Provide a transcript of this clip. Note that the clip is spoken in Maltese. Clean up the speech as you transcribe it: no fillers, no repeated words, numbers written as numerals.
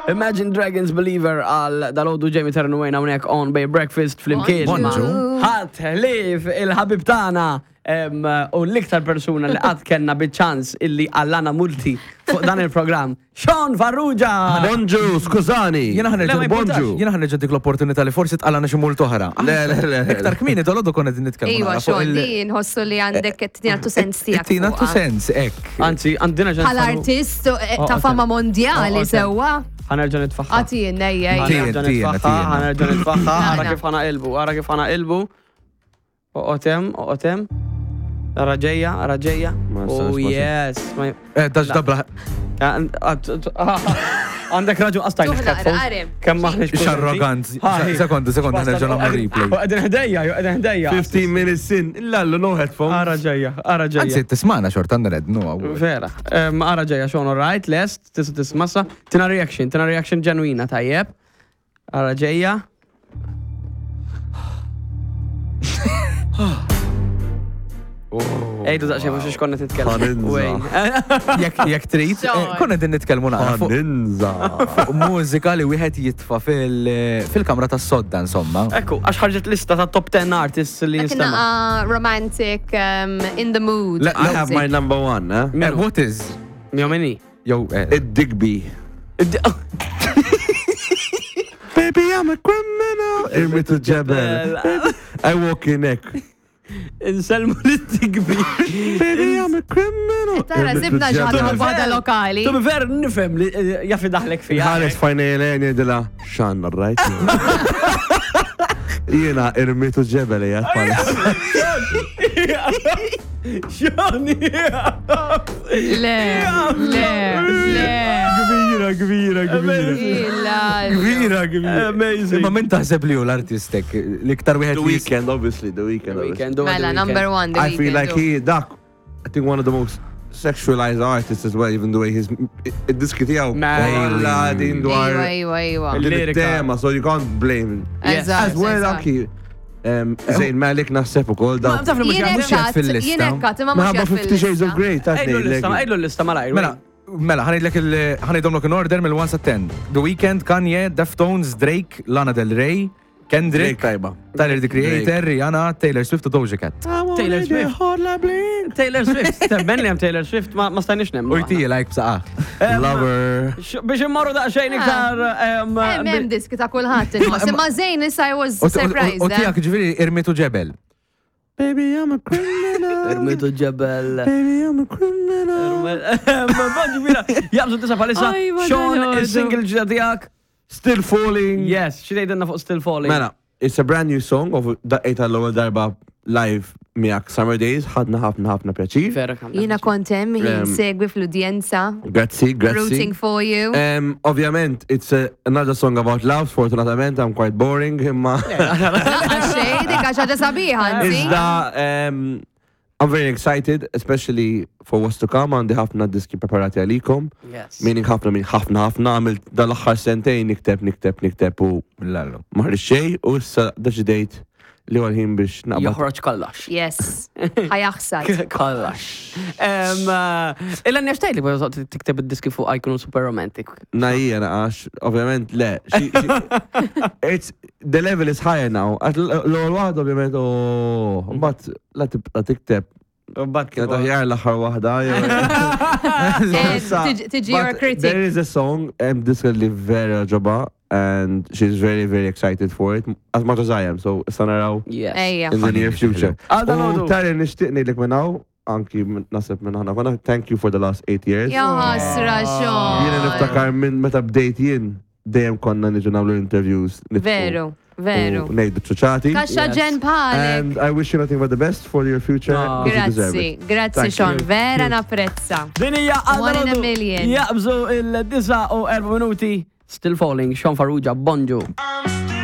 Imagine Dragons Believer għal dal-għodu Jamie Ternu Wayne hawnhekk on Bay Breakfast flimkien. Bonġu. Ħadd ħlief il-ħabib tagħna em, u l-iktar persuna li qatt kellna biċ-ċans illi għallana multi fuq dan il-programm. Sean Farrugia! Bonġu, skużani. Jena Le, ma ħanerġa' jimportax. bonġu. Jena ħanerġa' dik l-opportunità li forsi tqalana xi mult oħra. Le, le, le, le. Iktar kmieni dolodu konna din nitkellmu. Iwa, naqra fuq xogħol il- di nħossu li għandek tina tu sens tiegħek. Tina tu fuqha. sens, ek. Anzi, għandina ġen. Bħala artist eh, Oh, ta' okay. fama mondjali Oh, okay. sewwa. Ħanerġa' nitfaħħa. Għatin, ejja, ejja. Tien, Ħanerġa' tien, nitfaħħa, tien. ħanerġa' nitfaħħa, ara Naqra. kif ħana ilbu, ara kif ħana ilbu. Oqotem, oqotem. Ara ġejja, ara ġejja. Ma nistax, Oh ma yes. Ma- Eh, Dax dabla. Għandek raġun qastajn. Tuħ naqra, arem. Kemm maħniex. Xarrogant. Sekonda, sekonda, ħanerġa' nagħmlu replay. Qegħdin ħdejja, jew qegħdin ħdejja. 15 minutes in, illallu no headphones. Ara ġejja, ara Anzi, ġejja. tismana xorta nred, no. Vera. Em, Ara ġejja, xon, all right, lest, tista' tismassa. Tina reaction, tina reaction ġenwina, tajjeb. Ara ġejja. Ejdu daqsxejn mhux xiex konna titkellmu. Ħaninża. Wayne. Jekk jekk trid, eh, konna din nitkellmu naqra fuq Ninza. fuq mużika li wieħed jitfa' fil- fil-kamra tas-sodda, insomma. Ekku, għax ħarġet lista ta' top 10 artists li Dak jinstema. naqa romantic, um, in the mood. Le- I have music. my number one, eh? Eh, What is? Mjomini. Jew, eh, Id-Digby. Baby, I'm a criminal. Irmitu ġebel. I walk in ek. Inselmu li t-tigbi. Baby, I'm a criminal. Tara, Irmitu zibna ġaħda ġebel. waħda lokali. Tu ver nifhem li eh, jafi daħlek fija. Ħares fajnejlejn jgħidilha, xanna, right? Jiena irmitu ġebel jgħad palis. Xoni. Le, le, le. Kbira, kbira, kbira. Illa. Kbira, kbira. Amazing. Imma min taħseb li hu l-artistek l-iktar wieħed The li weekend, obviously, the weekend. The obviously. weekend, the Mela, weekend. number one, the I feel weekend. like he, dak, I think one of the most sexualized artists as well, even the way his, id-diski tiegħu. Mela. Kollha din dwar Iwa, iwa, iwa. din Lirika. it-tema, so you can't blame. Yes. Eżatt, As well, eżatt. anki um, Zayn Malik naħseb ukoll Ma daw. taf li mhux Jien mhux qiegħed ekkat, fil-lista. jien ekkat, imma mhux Minħabba qiegħed Fifty Shades of fil-lista. Grey, ta' Ejlu l-lista, ejlu l-lista malajr. Mela, mela, ħanejdlek il ħanejdhomlok in order mill-1 sa 10. The Weeknd, Kanye, Deftones, Drake, Lana Del Rey, Kendrick, Drake tajba. Tyler the Creator, Rihanna, Taylor Swift u Doja Cat. Taylor Swift. Taylor Swift. Temmen li hemm Taylor Swift ma ma stajniex nemmu. U jtija like bsaqa. Lover. Biex immorru daqsxejn iktar. em, Hemm hemm diski ta' kulħadd inħoss. Imma Zayn issa I was U surprised. eh. tijak ġviri irmitu ġebel. Baby, I'm a criminal. Irmitu ġebel. Baby, I'm a criminal. Bonġu mira, jabżu tisa palissa. Aj, ma Sean, dal-għodu. il-single ġdida tiegħek. Still falling. Yes, xi tgħidilna fuq Still Falling. Mela, it's a brand new song of daqqejta l-ewwel darba live miegħek Summer Days, ħadna ħafna ħafna pjaċir. Vera kam. Jiena kont hemm jien Um, segwi fl-udjenza. Grazzi, grazzi. Rooting for you. Um, ovvjament, it's a, another song about love, sfortunatament, I'm quite boring, imma. Laqqa xejn, dik għax ħaġa sabiħa, anzi. Iżda, um, I'm very excited, especially for what's to come, għandi ħafna diski preparati għalikom. Yes. Meaning ħafna, min ħafna ħafna, għamilt dal-axħar sentejn nikteb, nikteb, nikteb u Lallu. maħri xej, u issa deċidejt li għal-ħin biex naqbad. Joħroġ kollox. Yes. Ħajaħsad. Kollox. Em, eh, Illa nixtajt li bħal tikteb id-diski fuq jkunu super romantic. Najija naqax, ovvjament le. Xi- xi- It's, the level is higher now. Għax L-ewwel waħda ovvjament, oh, mbagħad la tibqa' tikteb. Bat Kienet aħjar l-aħħar waħda. Eh, Tiġi your But critic. There is a song, um, diska li vera ġoba, and she's very, very excited for it, as much as I am, so issa naraw Yes. Ejja. in the near future. Għal U dal-għodu. tari nixtieq ngħidlek minn hawn, anki minn- nasib minn ħana konna, thank you for the last eight years. Ja ħasra Jiena xogħol. niftakar minn meta bdejt jien, dejjem konna niġu nagħmlu interviews. nitfu Veru, veru. U ngħidu ċuċati. Kaxxa Yes. ġen bħalek. And I wish you nothing but the best for your future. Ah. 'cause you deserve Grazzi, it. grazzi Thank Sean, you. vera napprezza. Din hija One in a għal million. Jaqbżu il-9 u 4 minuti. Still Falling, Sean Farrugia, bonġu. I'm still